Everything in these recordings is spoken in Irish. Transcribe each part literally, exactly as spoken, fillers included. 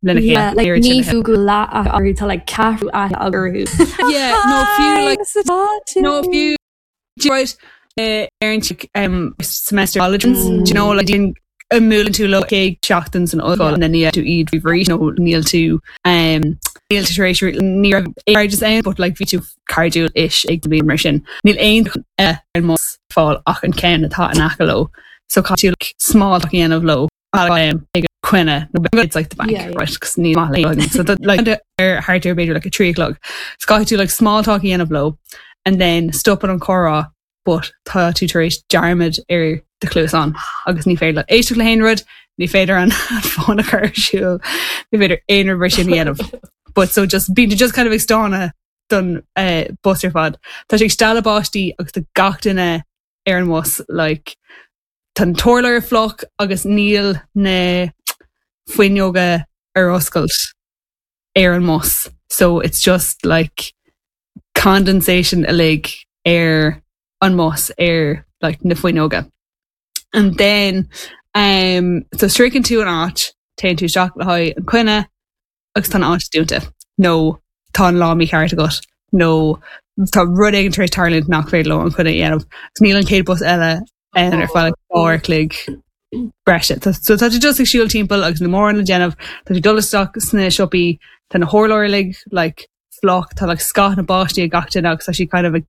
Lena chéile. Yeah, like Oiread sin ní a fiú go leath orthu tá like ceathrú aithne orthu. Yeah, no fiú like Hi, no fiú right uh, ar um semester college Mm. do you know like an mbuaileann tú leo céad seachtain san ollscoil na ní tú iad bhí nó níl tú um níl tú tar éis ní raibh cairdeas ann but like bhí tú cairdiúil is ag bliain mar sin níl aon uh, ar mbus fáil ach an ceann atá in aice leo so caithfidh tú like, small talk a dhéanamh leo um, ag coinne no it's like the bank Yeah, yeah. right cos ní maith le so that, like ar thart ar b'fhéidir like a three o'clock so caithfidh tú like small talk a dhéanamh leo and then stop an comhrá but tá tú tar éis dearmad ar do chluasáin agus ní féidir le éisteacht le haon rud ní féidir an fón a chur ar siúl ní féidir aon rud mar sin a dhéanamh but so just bíonn tú just kind of ag stánadh don uh, bus ar fad Tá sé ag stealladh báistí agus tá gach duine ar an mbus like tá an t-urlár fliuch agus níl na fuinneoga ar oscailt ar an mbus so it's just like condensation uilig ar an mbus ar like na fuinneoga and then um so sroicheann tú an áit téann tú isteach le haghaidh an coinne agus tá an áit dúnta nó tá an lá mícheart agat nó tá rud éigin tar éis tarlú nach féidir leo an coinne a dhéanamh agus níl an chéad bus eile ann ar feadh dhá uair chloig breise so so tá tú just ag siúl timpeall agus na mórán le déanamh tá tú dul isteach sna siopaí tá na hurláir uilig like fliuch tá like scáth na báistí ag gach duine agus tá sí kind of ag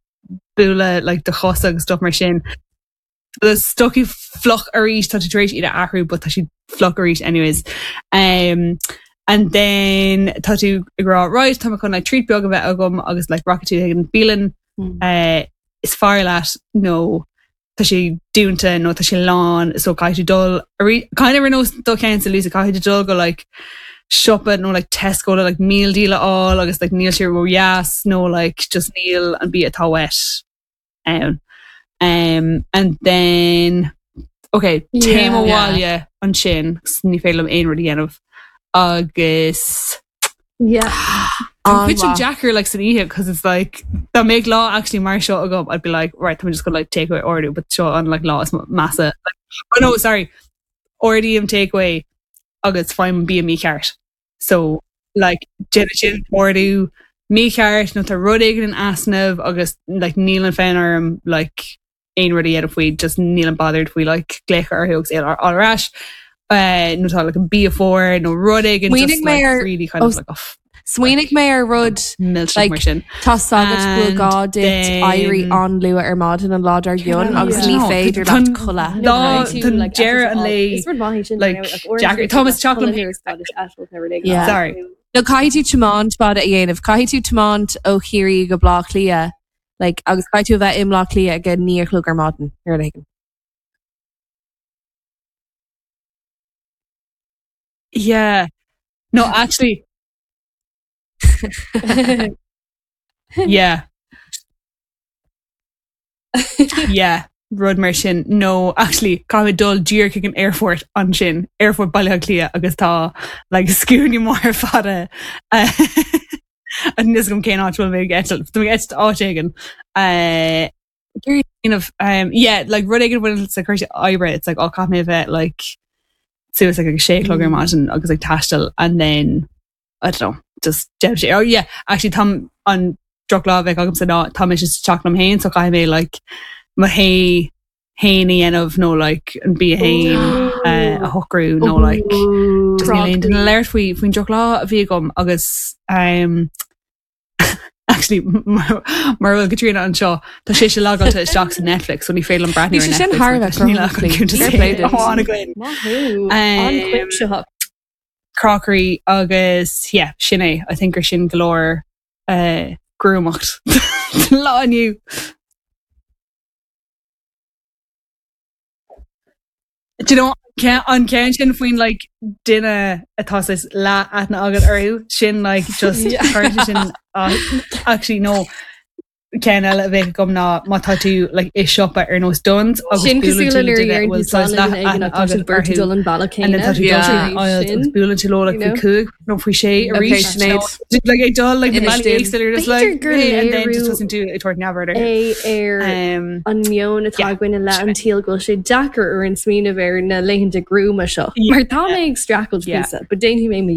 bualadh like do chosa agus stuff mar sin The stocaí fliuch arís tá tú tar éis iad a athrú but tá siad fliuch arís anyways um and then tá tú ag rá right tá mé chun like treat beag a bheith agam agus like rachaidh tú ag an bialann Mm. uh, is fearr leat nó tá sé dúnta nó tá sé lán so caithfidh tú dul arís kind of ar nós do cheann sa Lisa caithfidh tú dul go like siopa nó like Tesco le like meal deal a fháil agus like níl sé ró-dheas nó like just níl an bia atá uait ann. Um, and then okay téim Yeah. abhaile ansin ní féidir liom aon rud a dhéanamh agus Yeah. An cuid sin An-mhaith. deacair like san oíche because it's like dá mbeadh lá actually mar seo agam I'd be like right I'm just gonna like takeaway ordú but seo an like lá is measa like, oh no sorry ordaím takeaway agus faighim bia mícheart so like déanann sin ordú mícheart nó tá rud éigin in easnamh agus like níl an fonn orm like aon rud a dhéanamh faoi just níl an bothered faoi like glaoch orthu agus é ar ar ais uh, nó tá like an bia fuar nó rud éigin Smaoinigh just mé like ar- really kind oh, of like oh, Smaoinigh mé ar rud millteach Like, mar sin. Tá sagart bhfuil And gá duit then- éirí an-luath ar maidin an lá dár gcionn agus Yeah. ní No, féidir tá- leat codladh. Lá don deireadh an lae, Is rud maith sin like, Jack- Thomas Chocolate. Yeah. Sorry. No caithfidh tú tiomáint fada a dhéanamh, caithfidh tú tiomáint ó Chiarraí go Bleá Cliath, like, agus caithfidh tú a bheith i mBleá Cliath ag a naoi a chlog ar maidin ar an éigin. Yeah. No, actually, yeah. Yeah. Rud mar sin. No, actually, caithfidh dul díreach chuig an airport ansin, airport Baile Átha Cliath agus tá like scuaine mór fada uh, Níl a fhios agam cén áit bhfuil mé ag eitilt. Tá mé ag eitilt áit éigin. Uh, of um yeah like rud éigin bhfuil sa cúrsaí oibre it's like oh caithfidh mé a bheith like suas like ag sé a chlog ar maidin agus like taisteal and then I don't know just deir sé oh yeah actually tá an drochlá a bheadh agamsa ná tá mise sa teach liom féin so caithfidh mé like mo thae féin a dhéanamh nó like an bia féin uh, a shocrú nó like just níl aon duine le labhairt faoi faoin drochlá a bhí agam agus um, actually mar mar bhfuil Katrina anseo tá sé sé logáilte isteach sa Netflix so ní féidir liom breathnú Bhí ar sé sin Netflix thar a mar bheith níl ach an cruthaitheach. cuntas Fair play duit. amháin againn. Maith thú. Um, An-chuimsitheach. crockery agus yeah sin é I think gur sin go leor uh, gruamacht lá inniu. Do you know ce- an ceann sin faoin like duine atá saghas leath aithne agat orthu sin like just Yeah. chuir sé sin uh, actually no ceann eile a bheadh agam ná má tá tú like i siopa ar nós Dunnes agus Sin buaileann cosúil tú le le nuair duine a a dhéanann bhfuil tú saghas slán leath le duine éigin aithne ach tá agat siad beirt ag orthu dul an bealach and then tá céanna. tú dul Yeah. tríd an aisle Sin, agus buaileann tú leo like you faoi know? cúig nó faoi sé Okay, arís Sinéad. like ag dul like na Inis bealaí dúinn. éagsúla you're just B'fhéidir like gur hey, and then just léiriú tosaíonn tú ag tabhairt neamhaird orthu. é ar Um, an meon atá yeah, againn i leith sin an é. tsaoil go bhfuil sé deacair orainn smaoineamh ar na laethanta gruama seo. Yeah. Mar tá mé ag streachailt Yeah. píosa, but déanfaidh mé mo